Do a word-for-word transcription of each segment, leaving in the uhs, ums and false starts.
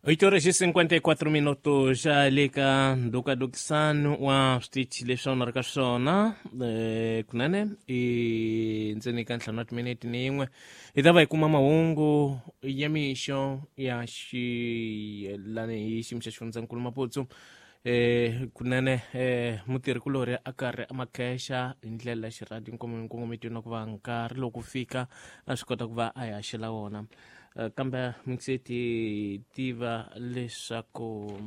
oito horas e cinquenta e quatro minutos já le ka ndukadukisano wa switichi leswi a ri ka swona eh, kunene i ndzeni ka ntlhanu wa timinete ni yin'we hi ta va hi kuma mahungu ya mixo ya xiyelani hi xiyimo xa xifundzankulu Maputo. Eh, kunene eh, mutirhikulorhi a karhi a makhexa hi ndlela ya xirhadi nkongometweni na ku va nkarhi loko fika a swi kota ku va a hi haxela wona. Eh, kambe mi ti tiva leswaku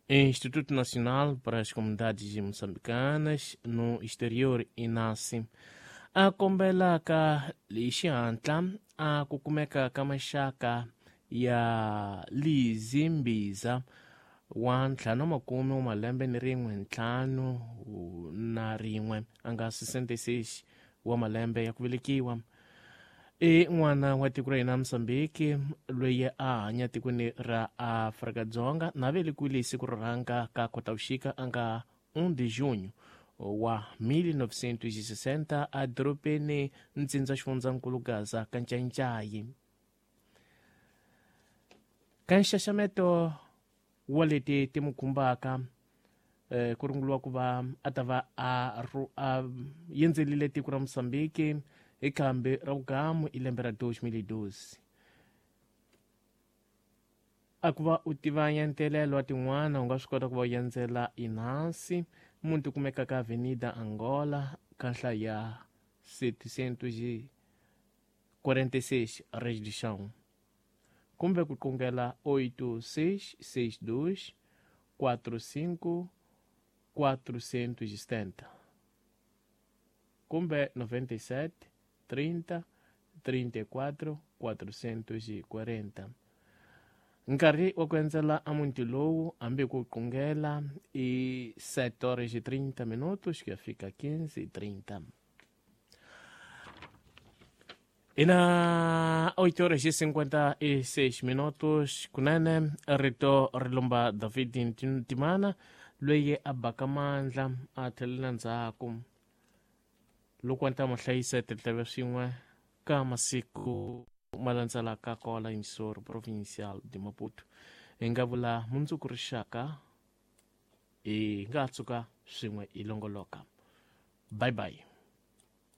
Instituto Nacional para as Comunidades Moçambicanas no Exterior, INASE, a kombelaka hi xihatla a ku kumeka ka maxaka ya Lizzy Mbiza wa ntlhanu makume wa malembe ni rin'we ntlhanu na rin'we a nga sessenta e seis wa malembe ya ku velekiwa, i n'wana wa tiko ra hina Mozambique loyi a hanya tikweni ra Afrika-Dzonga na velekiwile hi siku ro rhanga ka Khotavuxika a nga um de junho wa mil novecentos e sessenta a dorobeni ntsindza xifundzankulu Gaza ka Ncaincayi. Ka nxaxameto wa leti ti mu khumbaka eh, ku runguliwa ku va a ta va a, a yendzelile tiko ra Mozambique hi khambi ra vugamu hi lembe ra dois mil e doze. A ku va u tiva nyantelelo wa tin'wana u nga swi kota ku va u yendzela INASE muti kumeka ka Avenida Angola ka nhlayo ya setecentos e quarenta e seis Reis do Chão, kumbe ku qungela oito seis seis dois quatro cinco quatrocentos e setenta kumbe noventa e sete trinta trinta e quatro quatrocentos e quarenta. Nkarhi wa ku endzela a muti lowu hambi ku qungela i sete horas e trinta minutos ku ya fika quinze e trinta. E na oito horas e cinquenta e seis minutos kunene rito ri lomba David Ntimana loyi a baka mandla a tlhelela ndzhaku loko a ta mo hlayisa tindleve swin'we ka masiku ma landzelaka kwala emissora provincial de Maputo. Hi nga vula mundzuku rixaka hi nga tshuka swin'we hi longoloka. Bye bye.